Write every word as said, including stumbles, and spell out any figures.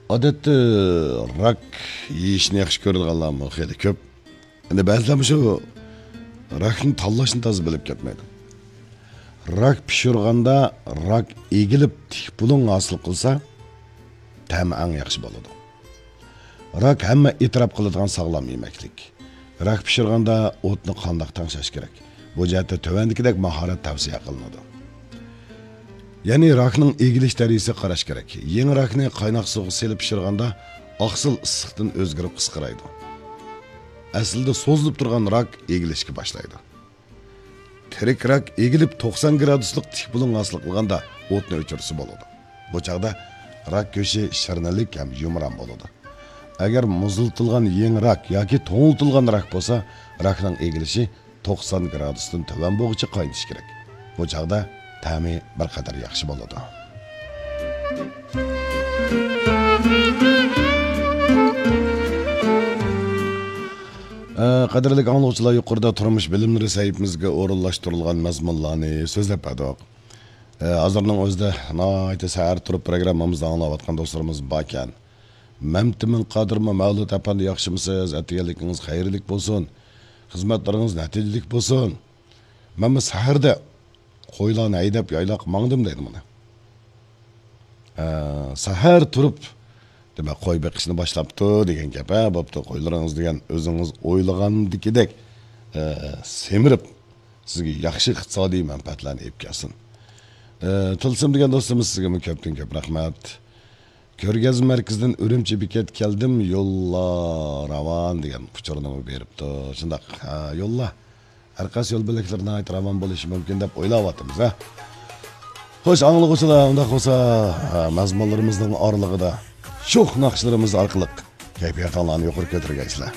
ئادەتتە راك يېيىشنى ياخشى كۆرىدىغانلارمۇ خېلى كۆپ. ئەمدى بەزىلەر مۇشۇ راكنى تاللاشنى تازا بىلىپ كەتمەيدۇ. راك پىشۇرغاندا راك ئېگىلىپ تىك بۇلۇڭ ھاسىل قىلسا، تەمى ئەڭ ياخشى بولىدۇ. راك ھەممە ئېتىراپ قىلىدىغان ساغلام يېمەكلىك. راك پىشۇرغاندا ئوتنى قانداق تەڭشەش كېرەك؟ بۇ جەھەتتە تۆۋەندىكىدەك ماھارەت تەۋسىيە قىلىنىدۇ. يەنى راكنىڭ ئېگىلىش دەرىجىسىگە قاراش كېرەك. يېڭى راكنى قايناق سۇغا سېلىپ پىشۇرغاندا ئاقسىل ئىسسىقتىن ئۆزگىرىپ قىسقىرايدۇ. ئەسلىدە سوزۇلۇپ تۇرغان راك ئېگىلىشكە باشلايدۇ. تىرىك راك ئېگىلىپ توقسان گرادۇسلۇق تىك بۇلۇڭ ھاسىل قىلغاندا ئوتنى ئۆچۈرسە بولىدۇ. بۇ چاغدا راك گۆشى شىرنىلىك ھەم يۇمران بولىدۇ. ئەگەر مۇزلىتىلغان يېڭى راك ياكى توڭلىتىلغان راك بولسا، راكنىڭ ئېگىلىشى توقسان گرادۇستىن تۆۋەن بولغۇچە قاينىتىش كېرەك. بۇ چاغدا تەمى بىر قەدەر ياخشى بولىدۇ. ئە، قەدىرلىك ئاڭلىغۇچىلار، يۇقىرىدا تۇرمۇش بىلىملىرى سەھىپىمىزگە ئورۇنلاشتۇرۇلغان مەزمۇنلارنى سۆزلەپ بەردۇق. ئە، ھازىرنىڭ ئۆزىدە ناھايىتى سەھەر تۇرۇپ پروگراممىمىزنى ئاڭلاۋاتقان دوستلىرىمىز باركەن. مەمتىمىن قادىرمۇ، مەۋلۇت ئەپەندى ياخشىمۇسىز؟ ئەتىگەنلىكىڭىز خەيرلىك بولسۇن. خىزمەتلىرىڭىز نەتىجىلىك بولسۇن. مەنمۇ سەھەردە قويلارنى ھەيدەپ يايلاققا ماڭدىم دەيدۇ مانا. ئە، سەھەر تۇرۇپ، دېمەك، قوي بېقىشنى باشلاپتۇ دېگەن گەپ، ھە، بوپتۇ، قويلىرىڭىز دېگەن ئۆزىڭىز ئويلىغاندىكىدەك، ئە، سېمىرىپ، سىزگە ياخشى ئىقتىسادىي مەنپەئەتلەرنى ئېلىپ كەلسۇن. ئە، تىلسىم دېگەن دوستىمىز، سىزگىمۇ كۆپتىن كۆپ رەھمەت. كۆرگەزمە مەركىزىدىن ئۈرۈمچى بېكەت كەلدىم، يوللار راۋان دېگەن ئۇچۇرنىمۇ بېرىپتۇ. شۇنداق، ھە، يوللار. ھەر قايسى يول بۆلەكلىرى ناھايىتى راۋان بولۇشى مۇمكىن دەپ ئويلاۋاتىمىز، ھە. خوش، ئاڭلىغۇچىلار، ئۇنداق بولسا، ھە، مەزمۇنلىرىمىزنىڭ ئارىلىقىدا شوخ ناخشىلىرىمىز ئارقىلىق كەيپىياتىڭلارنى يۇقىرى كۆتۈرگەيسىلەر.